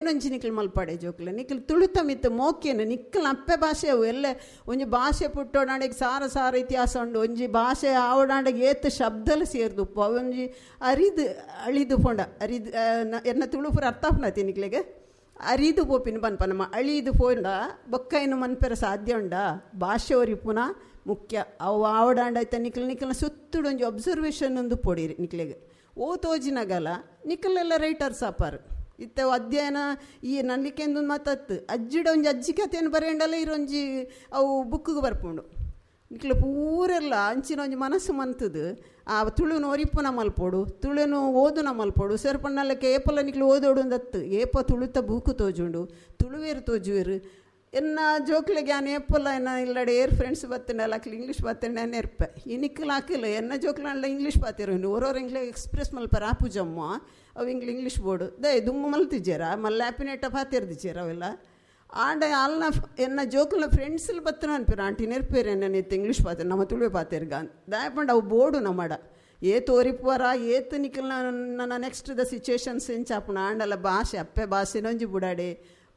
ಒಂಜಿ ನಿಕ್ಲು ಮಲ್ಪಡೆ ಜೋಕ್ಲೆ ನಿಕ್ಲು ತುಳುತ ಮಿತ್ತು ಮೋಕೆನು ನಿಕ್ಲು ಅಪ್ಪೆ ಭಾಷೆ ಅವು ಎಲ್ಲ ಒಂಜಿ ಭಾಷೆ ಪುಟ್ಟೋಡಾಂಡೆಗ್ ಸಾರ ಸಾರ ಇತಿಹಾಸ ಉಂಡು. ಒಂಜಿ ಭಾಷೆ ಆವಡಾಂಡೆಗ್ ಏತ್ ಶಬ್ದಲು ಸೇರ್ದುಪ್ಪು ಅವೊಂಜಿ ಅರಿದು ಅಳಿದು ಪೋಂಡ ಅರಿದು ಎನ್ನ ತುಳು ಪೂರ ಅರ್ಥ ಆಪುಂಡತಿ ನಿಕ್ಲೆಗ್ ಅರಿದು ಪೋಪಿನ ಪನ್ಪ ನಮ್ಮ ಅಳಿದು ಪೋಂಡ ಬೊಕ್ಕ ಇನ್ನು ಮನ್ಪೆರೆ ಸಾಧ್ಯ ಉಂಡಾ. ಭಾಷೆ ಒರಿಪುನ ಮುಖ್ಯ ಅವು ಆವಡಾಂಡ ಐತ ನಿಕ್ಲು ನಿಕ್ಲ್ನ ಸುತ್ತುಡು ಒಂಜಿ ಅಬ್ಸರ್ವೇಷನ್ ಒಂದು ಪೊಡಿರಿ ನಿಕ್ಲೆಗ್ ಓ ತೋಜಿನಗಲ ನಿಕ್ಲೆಲ್ಲ ರೈಟರ್ಸ್ ಆಪಾರು ಇತ್ತೆ ಅಧ್ಯಯನ ಈ ನಲ್ಲಿಕೆಂದು ಮಾತತ್ತು ಅಜ್ಜಿಡ ಒಂಜಿ ಅಜ್ಜಿ ಕಥೆಯನ್ನು ಬರೆಯಂಡಲ್ಲ ಇರೊಂಜಿ ಅವು ಬುಕ್ಕಿಗೆ ಬರ್ಪುಂಡು ನಿಕ್ಲು ಪೂರೆಲ್ಲ ಅಂಚಿನ ಒಂಜಿ ಮನಸ್ಸು ಮಂತದು ಆ ತುಳುನು ಒರಿಪುನ ಮಲ್ಪೊಡು ತುಳುನು ಓದುನ ಮಲ್ಪೊಡು ಸೇರ್ಪಣ್ಣಲ್ಲಕ್ಕೆ ಏಪಲ ನಿಕ್ಲು ಓದೋಡು ಅಂದತ್ತು ಏಪ ತುಳುತ ಬೂಕು ತೋಜುಂಡು ತುಳುವೇರು ತೋಜುವೇರು ಎನ್ನ ಜೋಕ್ಲೆಗೆ ಆನ್ ಏಪಲ ಎನ್ನ ಇಲ್ಲಡೆ ಏರ್ ಫ್ರೆಂಡ್ಸ್ ಬತ್ತಂಡಲ್ಲ ಅಕ್ಲು ಇಂಗ್ಲೀಷ್ ಬತ್ತಂಡೆ ನೆರ್ಪೆ ಈ ನಿಕ್ಲು ಹಾಕಿಲ್ಲ ಎನ್ನ ಜೋಕ್ಲಂಡ ಇಂಗ್ಲೀಷ್ ಬಾತಿರು ಓರೋರು ಇಂಗ್ಲೀಷ್ ಎಕ್ಸ್ಪ್ರೆಸ್ ಮಲ್ಪರ ಆಪುಜಮ್ಮ ಅವು ಇಂಗ್ಲಿ ಇಂಗ್ಲೀಷ್ ಬೋರ್ಡು ದಯ ದುಮ್ಮು ಮಲ್ತಿಜ್ಜೇರ ಮಲ್ಲ ಆಪಿನೆಟ್ಟ ಪಾತಿರ್ದಿಜ್ಜೇರ ಅವೆಲ್ಲ ಆಂಡ ಅಲ್ನ ಎನ್ನ ಜೋಕ್ಲ ಫ್ರೆಂಡ್ಸ್ಲು ಬತ್ತನ ಅನ್ಪಿರ ಆಂಟಿ ನೆರ್ಪೇರು ಎನ್ನ ನಿತ್ತ ಇಂಗ್ಲೀಷ್ ಪಾತಿರ್ ನಮ್ಮ ತುಳುವೆ ಪಾತಿರ್ಗ ದಾಯಪಂಡ ಅವು ಬೋರ್ಡು ನಮ್ಮಡ ಏತ್ ಒರಿಪುವರ ಏತ್ ನಿಕ್ಲ ನನ್ನ ನೆಕ್ಸ್ಟ್ the situations ಎಂಚಾಪುಣ ಆಂಡಲ ಭಾಷೆ ಅಪ್ಪೆ ಭಾಷೆನೊಂಜಿ ಬುಡಾಡೆ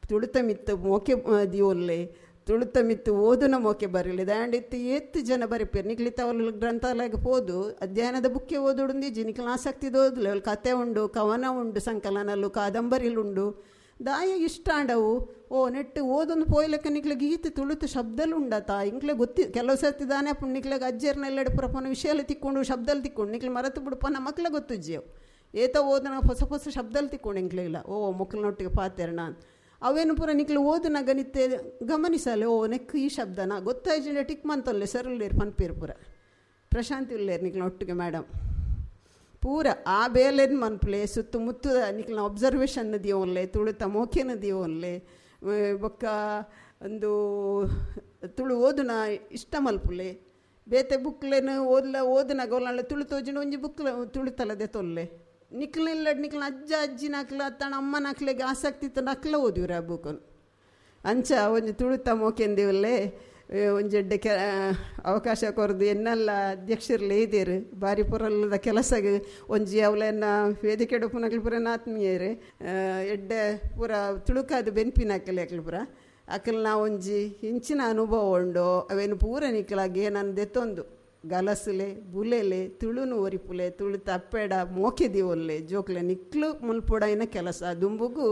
ತುಳುತ ಮಿತ್ತು ಮೋಕೆ ದಿಯೋಲ್ಲೆ ತುಳುತ ಮಿತ್ತು ಓದುನ ಮೋಕೆ ಬರಲಿ ದಾಂಡ ಇತ್ತು ಏತ್ ಜನ ಬರಿಪೇರು ನಿಕ್ಲಿತ್ತ ಅವಳು ಗ್ರಂಥಾಲಯಕ್ಕೆ ಪೋದು ಅಧ್ಯಯನದ ಬುಕ್ಕೆ ಓದುಡುಂದಿಜ್ಜಿ ನಿಕ್ಲ ಆಸಕ್ತಿದ ಓದಲೆ ಅವಳು ಕತೆ ಉಂಡು ಕವನ ಉಂಡು ಸಂಕಲನಲ್ಲು ಕಾದಂಬರಿಲುಂಡು ದಾಯ ಇಷ್ಟ ಆಂಡವು ಓ ನೆಟ್ಟು ಓದೊಂದು ಪೋಯ್ಲಕ್ಕ ನಿಕ್ಲೆಗ್ ಈತ ತುಳುತು ಶಬ್ದಲು ಉಂಡತ ಇಂಕ್ಲೆ ಗೊತ್ತಿ ಕೆಲವು ಸರ್ತಿ ದಾನೆ ಅಪ್ಪು ನಿಕ್ಲೆಗ್ ಅಜ್ಜರ್ನ ಎಲ್ಲೆಡೆ ಪುರಪನ ವಿಷಯలు ತಿಕ್ಕೊಂಡು ಶಬ್ದలు ತಿಕ್ಕೊಂಡು ನಿಕ್ಲೆ ಮರತು ಬಿಡುಪನ ಮಕ್ಳ ಗೊತ್ತುಜ್ಜೇವು ಏತ ಓದನ ಹೊಸ ಹೊಸ ಶಬ್ದలు ತಿಕ್ಕೊಂಡು ಇಂಕ್ಲೆಗಿಲ್ಲ ಓ ಮಕ್ಕಳನ್ನೊಟ್ಟಿಗೆ ಪಾತೆರ್ಣ ಅವೇನು ಪೂರ ನಿಕ್ಲು ಓದುನಾಗ ನಿತ್ತೆ ಗಮನಿಸಲೆ ಓ ನೆಕ್ ಈ ಶಬ್ದನ ಗೊತ್ತಾಯ್ಜಿಂಡ ಟಿಕ್ ಮಂತೊಲ್ಲೆ ಸರ್ ಪನ್ಪೇರು ಪೂರ ಪ್ರಶಾಂತಿ ಉಲ್ಲೇರು ನಿಕ್ಲ ಒಟ್ಟಿಗೆ ಮೇಡಮ್ ಪೂರ ಆ ಬೇಲೆನ್ ಮನ್ಪ್ಲೆ ಸುತ್ತಮುತ್ತ ನಿಕ್ಲ ಅಬ್ಸರ್ವೇಷನ್ ದಿಯೋನ್ಲೆ ತುಳುತ ಮೋಕೆನ ದಿಯೋನ್ಲೆ ಬೊಕ್ಕ ಒಂದು ತುಳು ಓದುನ ಇಷ್ಟ ಮಲ್ಪುಲೆ ಬೇತೆ ಬುಕ್ಲೇನು ಓದ್ಲ ಓದುನಾಗ ಒಲ್ಲ ತುಳು ತೋಜಿನ ಒಂಜಿ ಬುಕ್ಲ ತುಳುತಲದೆ ತೊಲ್ಲೆ ನಿಕ್ಲಿಲ್ಲ ನಿಕ್ಲ ಅಜ್ಜ ಅಜ್ಜಿನ ಅಕ್ಲ ತನ್ನ ಅಮ್ಮನ ಅಕ್ಲೆಗೆ ಆಸಕ್ತಿ ಇತ್ತು ಅಕ್ಲ ಓದಿವ್ರ ಆ ಬುಕ್ಕನ್ನು ಅಂಚ ಒಂಜಿ ತುಳುತ ಮೋಕೆಂದಿವಲ್ಲೇ ಒಂಜೆಡ್ಡೆ ಕೆ ಅವಕಾಶ ಕೊರ್ದು ಎನ್ನೆಲ್ಲ ಅಧ್ಯಕ್ಷರ್ಲೇ ಇದ್ದೀರು ಬಾರಿ ಪುರಲ್ಲದ ಕೆಲಸಗೆ ಒಂಜಿ ಅವಲೆನ್ನ ವೇದಿಕೆ ಪುನಕ್ಲು ಪೂರ ಆತ್ಮೀಯರು ಎಡ್ಡೆ ಪೂರ ತುಳುಕಾದ ಬೆನ್ಪಿನ ಅಕ್ಕಲೆ ಅಕ್ಲು ಪೂರ ಅಕಲ್ ನಾ ಒಂಜಿ ಇಂಚಿನ ಅನುಭವ ಉಂಡು ಅವೇನು ಪೂರ ನಿಕ್ಲಾಗೆ ನಾನು ದೆತ್ತೊಂದು ಗಲಸುಲೆ ಬುಲೆಲೆ ತುಳುನು ಒರಿಪುಲೆ ತುಳು ತಪ್ಪೆಡ ಮೋಕೆ ದಿವೊಲ್ಲೆ ಜೋಕ್ಲೆ ನಿಕ್ಲು ಮುಲ್ಪೊಡೈನ ಕೆಲಸ ದುಂಬುಗು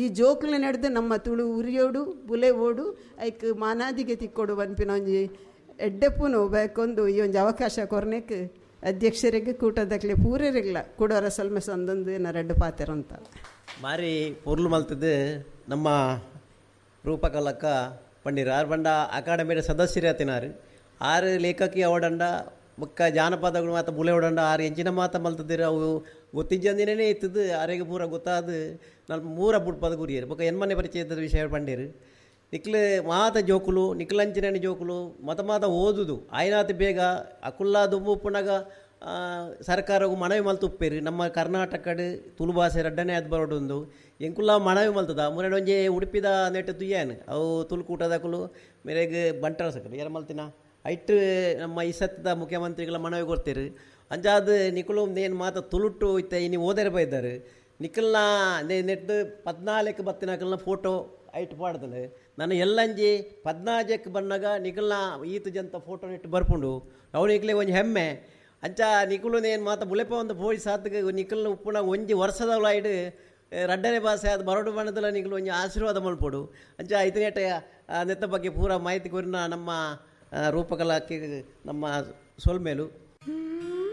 ಈ ಜೋಕ್ಲೆ ನಡೆದು ನಮ್ಮ ತುಳು ಉರಿಯೋಡು ಬುಲೆ ಓಡು ಐಕ್ ಮಾನಾದಿಗೆ ತಿಕ್ಕೊಡು ಪನ್ಪಿನ ಒಂಜಿ ಎಡ್ಡೆಪ್ಪುನು ಬೇಕೊಂದು ಈ ಒಂಜಿ ಅವಕಾಶ ಕೊರ್ನೆಕ್ ಅಧ್ಯಕ್ಷರಿಗೆ ಕೂಟದಕ್ಲೆ ಪೂರೆರಿಗ್ಲ ಕೂಡೋರ ಸಲ್ಮೆ ಸಂದೊಂದು ಏನ ರೆಡ್ಡು ಪಾತೆರಂತ ಮಾರಿ ಪೊರ್ಲು ಮಲ್ತದ್ದು ನಮ್ಮ ರೂಪಕಲಕ್ಕ ಪಂಡಿರ ಆರ್ ಬಂಡ ಅಕಾಡೆಮಿಯ ಸದಸ್ಯರೇ ಆರು ಲೇಖಕಿ ಅವಡಂಡ ಬೊಕ್ಕ ಜಾನಪದಗಳು ಮಾತ ಬುಲೆ ಓಡಂಡ ಆರು ಎಂಚಿನ ಮಾತ ಮಲ್ತದಿರ ಅವು ಗೊತ್ತಿಜ್ಜಂದಿನೇ ಇತ್ತದು ಆರೆಗೆ ಪೂರ ಗೊತ್ತಾದ ನಲ್ಪ ಮೂರ ಬುಡ್ಪದ ಗುರಿಯರು ಬೊಕ್ಕ ಎನ್ಮನೆ ಪರಿಚಯದ ವಿಷಯ ಪಂಡೇರು ನಿಕ್ಲು ಮಾತ ಜೋಕುಲು ನಿಕ್ಲಂಚಿನ ಜೋಕುಲು ಮತ ಮಾತ ಓದುದು ಆಯ್ನಾತ ಬೇಗ ಅಕುಲ್ಲ ದುಂಬು ಉಪ್ಪುನಾಗ ಸರ್ಕಾರವು ಮನವಿ ಮಲ್ತು ಉಪ್ಪೇರು ನಮ್ಮ ಕರ್ನಾಟಕಡ್ ತುಳು ಭಾಷೆ ರಡ್ಡನೇ ಅದು ಬರೋಡುಂದು ಎಂಕುಲ್ಲ ಮನವಿ ಮಲ್ತದ ಮುರಡೆ ಒಂಜಿ ಉಡುಪಿದ ನೆಟ್ಟು ತುಯ್ಯಾನ್ ಅವು ತುಳುಕೂಟದಕುಲು ಮೇರೆಗ್ ಬಂಟರ ಸಕಲು ಯಾರ ಮಲ್ತಿನ ಐಟ್ ನಮ್ಮ ಈ ಸತ್ತದ ಮುಖ್ಯಮಂತ್ರಿಗಳ ಮನವಿ ಕೊಡ್ತೀರಿ ಅಂಜಾದ ನಿಕುಲು ನೇನು ಮಾತ ತುಳುಟು ಇತ್ತ ಇನಿ ಓದರೆ ಬೈದಾರೆ ನಿಕಲ್ನ ನೆಟ್ಟು 14 ಬತ್ತಿನಕಲ್ನ ಫೋಟೋ ಐಟ್ ಪಾಡ್ದಲೆ ನಾನು ಎಲ್ಲಂಜಿ 14 ಬನ್ನಾಗ ನಿಕಲ್ನ ಈತ ಜಂತ ಫೋಟೋ ನೆಟ್ಟು ಬರ್ಪುಂಡು ಅವು ನಿಕ್ಲೆ ಒಂಜಿ ಹೆಮ್ಮೆ ಅಂಚ ನಿಕುಲು ನೇನು ಮಾತ ಬುಲೆಪ ಒಂದು ಪೋಯಿ ಸಾತ್ಗೆ ನಿಕಲ್ನ ಉಪ್ಪುನ ಒಂಜಿ ವರ್ಷದ ಐಡು ರಡ್ಡನೆ ಭಾಷೆ ಅದು ಬರೋಡು ಬಣ್ಣದಲ್ಲ ನಿಕಲು ಒಂಜಿ ಆಶೀರ್ವಾದ ಮಲ್ಪೊಡು ಅಂಚ ಐತನೇಟ ನೆತ್ತ ಬಗ್ಗೆ ಪೂರ ಮಾಹಿತಿ ಕೊರಿನ ನಮ್ಮ ರೂಪಕಲಾಕ್ಕೆ ನಮ್ಮ ಸೊಲ್ಮೇಲು.